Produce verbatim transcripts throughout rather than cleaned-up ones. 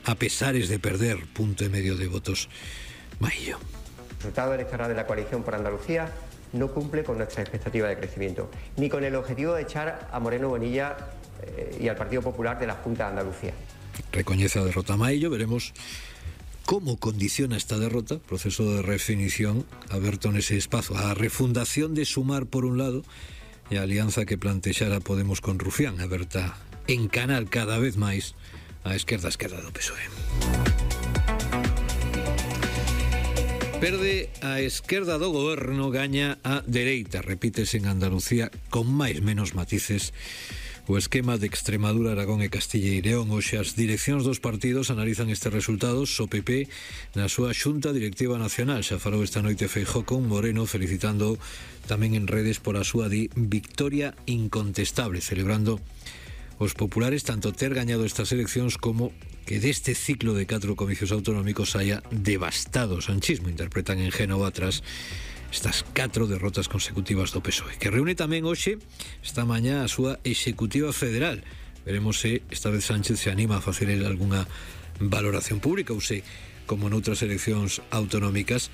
a pesares de perder punto y medio de votos. Maillo. El resultado electoral de la coalición por Andalucía no cumple con nuestra expectativa de crecimiento, ni con el objetivo de echar a Moreno Bonilla eh, y al Partido Popular de la Junta de Andalucía. Recoñece a derrota Maillo, veremos cómo condiciona esta derrota, proceso de definición aberto nese espazo, a refundación de Sumar por un lado e a alianza que plantexara Podemos con Rufián, aberta en canal cada vez máis a esquerda esquerda do P S O E. Perde a esquerda do goberno, gaña a dereita, repítese en Andalucía con máis menos matices o esquema de Extremadura, Aragón e Castilla e León. Hoxe as direccións dos partidos analizan estes resultados. O P P na súa xunta directiva nacional xa falou esta noite Feijóo con Moreno, felicitando tamén en redes por a súa di victoria incontestable, celebrando os populares tanto ter gañado estas eleccións como que deste ciclo de catro comicios autonómicos haya devastado o sanchismo. Interpretan en Génova tras estas catro derrotas consecutivas do P S O E, que reúne tamén hoxe, esta mañá, a súa executiva federal. Veremos se esta vez Sánchez se anima a facer algunha valoración pública ou se, como noutras eleccións autonómicas,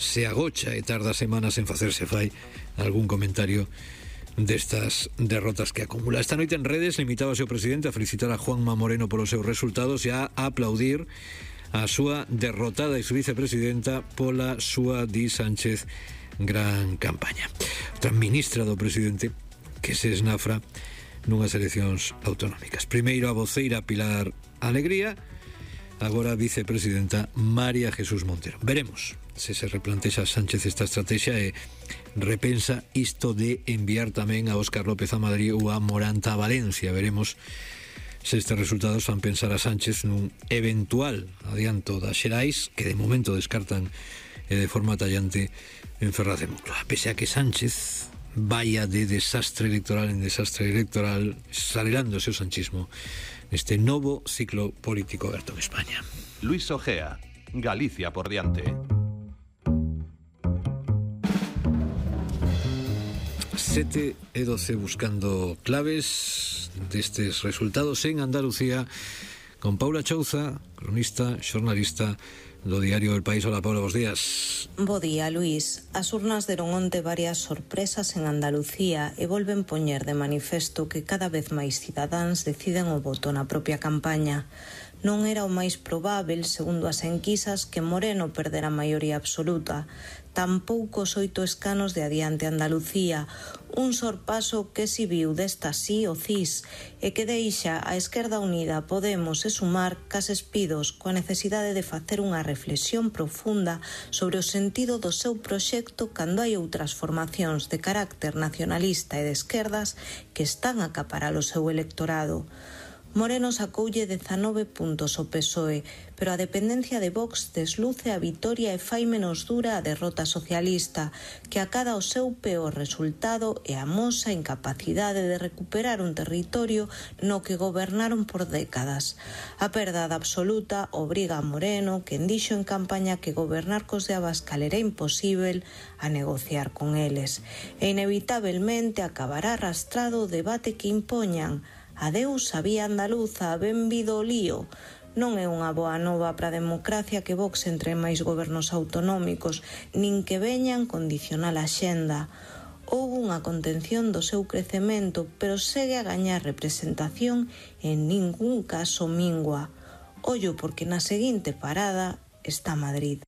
se agocha e tarda semanas en facerse fai algún comentario destas derrotas que acumula. Esta noite en redes limitábase o presidente a felicitar a Juanma Moreno polos seus resultados e a aplaudir a súa derrotada ex-vicepresidenta pola súa, di Sánchez, gran campaña. Outra ministra do presidente que se esnafra nunhas eleccións autonómicas. Primeiro a voceira Pilar Alegría, agora a vicepresidenta María Jesús Montero. Veremos se se replantexa Sánchez esta estrategia e repensa isto de enviar tamén a Óscar López a Madrid ou a Moranta a Valencia. Veremos se estes resultados fan pensar a Sánchez nun eventual adianto das xerais, que de momento descartan e de forma tallante en Ferraz de Moncloa. Pese a que Sánchez vaya de desastre electoral en desastre electoral, salerándose o sanchismo neste novo ciclo político aberto en España. Luis Ojea, Galicia por diante. sete e doce buscando claves destes resultados en Andalucía con Paula Chouza, cronista, xornalista do diario El País. Hola, Paula, bos días. Bo día, Luís. As urnas deron onte varias sorpresas en Andalucía e volven poñer de manifesto que cada vez máis cidadáns deciden o voto na propia campaña. Non era o máis probável, segundo as enquisas, que Moreno perdera a maioría absoluta. Tampouco os oito escanos de Adiante Andalucía, un sorpaso que si viu desta sí o cis e que deixa a Esquerda Unida, Podemos e Sumar cas espidos coa necesidade de facer unha reflexión profunda sobre o sentido do seu proxecto cando hai outras formacións de carácter nacionalista e de esquerdas que están a acaparar o seu electorado. Moreno sacoulle dezanove puntos ao P S O E, pero a dependencia de Vox desluce a vitoria e fai menos dura a derrota socialista, que acada o seu peor resultado e amosa a incapacidade de recuperar un territorio no que gobernaron por décadas. A perdada absoluta obriga a Moreno, quen dixo en campaña que gobernar cos de Abascal era imposível, a negociar con eles. E inevitablemente acabará arrastrado o debate que impoñan. Adeus a vía andaluza, benvido o lío. Non é unha boa nova para a democracia que Vox entre máis gobernos autonómicos, nin que veñan condicionar a xenda. Houve unha contención do seu crecemento, pero segue a gañar representación e en ningún caso mingua. Ollo porque na seguinte parada está Madrid.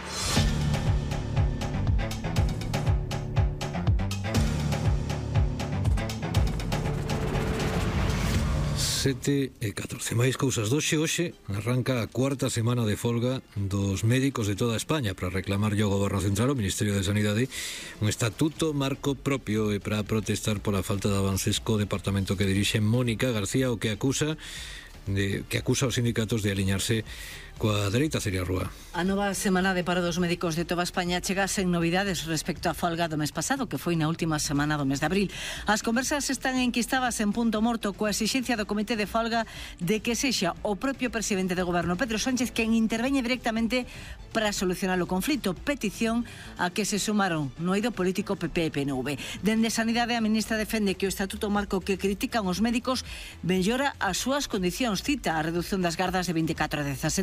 sete e catorce. Máis cousas doxe. Hoxe arranca a cuarta semana de folga dos médicos de toda España para reclamarlle ao Goberno Central, ao Ministerio de Sanidade, un estatuto marco propio e para protestar pola falta de avances co departamento que dirixe Mónica García, o que acusa de, que acusa aos sindicatos de aliñarse coa dereita. Celia Rúa. A nova semana de paro dos médicos de toda España chega sen novidades respecto á folga do mes pasado, que foi na última semana do mes de abril. As conversas están enquistadas en punto morto coa exixencia do comité de folga de que sexa o propio presidente de goberno, Pedro Sánchez, quen interveñe directamente para solucionar o conflito, petición a que se sumaron no eido político P P e P N V. Dende Sanidade, a ministra defende que o estatuto marco que critican os médicos mellora as súas condicións. Cita a reducción das gardas de veinticatro a dezasete